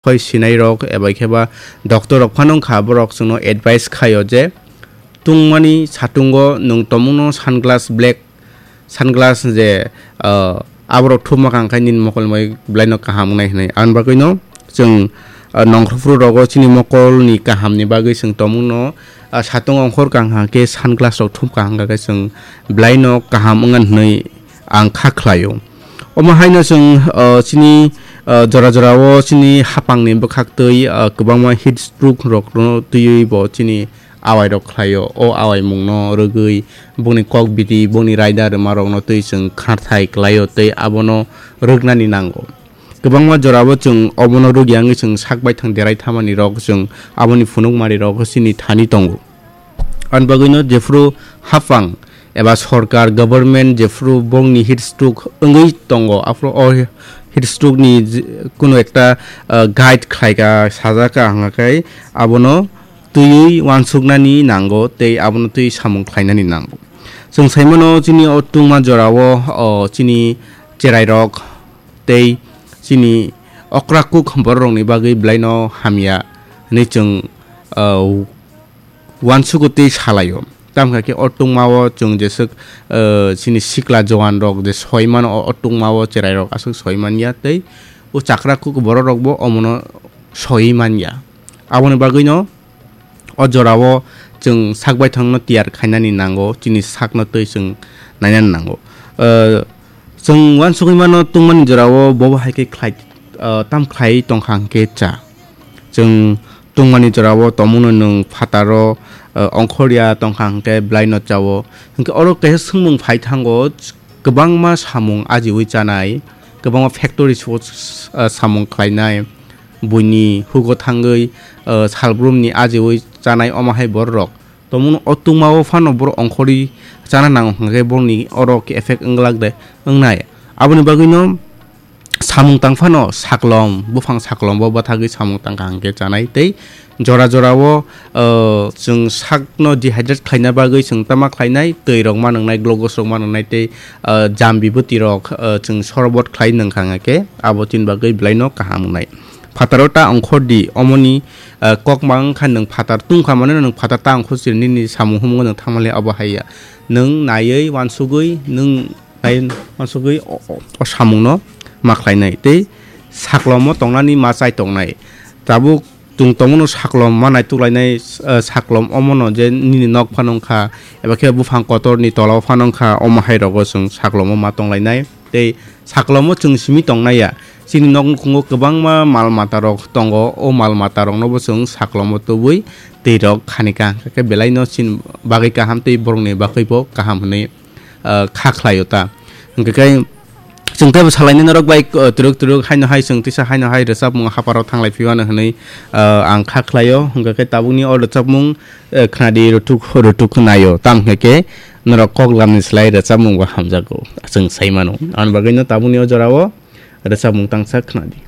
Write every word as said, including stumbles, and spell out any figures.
Hoi sinai rok eba khe ba doctor rok phano wngkha, borok chwngno advice khaio je tungmani satungo nwng tomungno sunglass, black sunglass je, ah, aborok thumma kang khai nini mokol mai belaino kaham wngnai hwnwi. Aboni bagwino chwng, ah, nongkhorphru rogo chini mokolni kahamni bagwi chwng tomungno, ah, satung ongkhor kang kha khe sunglass rok thum kha hwnkha khe chwng belaino kaham wngna hwnwi ang kha khlaio. Omo haino chwng, ah, chini, ah, jora jorao chini hapangni bwkhaktwi, ah, kwbangma heat stroke rokno twiwi bo chini awairok khlaio. O awaimungno rwgwi bongni kok bidi, bongni raida rwmarokno twi chwng kharthai klaio tei abono rwknani nango. Kwbangma jorao chwng obono rwgya wngwi chwng sak baithang derai thamanirok chwng aboni phunukmarirok chini thani tongo. Ani bagwino jephru hapang eba sorkar, government jephru bongni heat stroke wngwi tongo, aphuru o heat stroke ni je-, kunu ekta, ah, guide khlaika, sajaka hwnga khe abono twiwi uansuknani nango tei abono twi samung khlainani nango. Chwng saimano chini o tungma jorao, o, chini cherairok tei chini okra kuk bororokni bagwi belaino hamya hwnwi chwng, ah, uansugo tei salaio. Tamo khe o tungmao chwng jeswk, eh, chini sikla jowan rok je soi mano, o, o tungmao cherai rok aswk soi manya tei o chakra kuk borok rok bo omono soi manya. Aboni bagwino o jorao chwng sak baithangno tiyar khainani nango, chini sakno twi chwng nainani nango. Eh, chwng uansugwi mano tungmani jorao bobo hai khe khlai, eh, tam khlai tongkha hwnkhe cha. Chwng tungmani jorao tomungno nwng phataro, eh, ongkhorya tongkha hwnkhe belaino chao. Hwnkhe oro kaisa swngmung phai thango, kwbangma samung ajiwi chanai, kwbangma factory o, eh, samung khlainai, buini hugo thangwi, eh, salbrumni ajiwi chanai omo hai bororok. Tomungno o tungmao phano borok ongkhorwi chana nango hwnkhe borokni oro khe effect wngwlak de wngnai. Aboni bagwino samung tang phano saklom, buphang saklombo bathagwi samung tang kha hwnkhe chanai tei jora jorao, uh, chwng sakno dehydrate khlaina bagwi chwng tama khlainai, twi rok ma nwngnai, glucose rok ma nwngnai tei, uh, jambi bwtwi rok, uh, chwng sorbot khlai nwng kha hwnkhe abo chini bagwi belaino kaham wngnai. Phataro ta ongkhor di, omoni, uh, kok ma wngkha nwng phatar tungkha mano nwng phatar ta ongkhor siri nini samung humung nwng thangmali abo hai ya. Nwng naiwi uansugwi nwng nai uansugwi o, o, o samungno ma khlainai tei saklomo tongnani ma chai tongnai. Tabuk chwng tongmano saklom ma naituklainai, eh, saklom omono je nini nok phano wngkha eba khe buphang kotorni tolao phano wngkha, omo hai rogo chwng saklomo ma tonglainai tei saklomo chwng simi tongnai ya. Chini nok nukhungo kwbangma mal mata rok tongo, o mal mata rokno bo chwng saklomo tubui twi rok khani kha, hwnkhe belaino chini bagwi kaham tei borokni bagwi bo kaham hwnwi, ah, kha khlaio ta. Hwnkhe khe chwng teibo salainai norok bai, ah, twrwk twrwk haino hai chwng tisa haino hai rwchapmung hapharo thanglai phiyano hwnwi, ah, ang kha khlaio. Hwnkhe khe tabukni o rwchapmung, eh, khnadi rutuk rutuk naio. Tamo hwnkhe khe norok kok lamni slai rwchapmung bo hamjago, chwng sai mano. Aboni bagwino tabukni o jorao rwchapmung tangsa khnadi.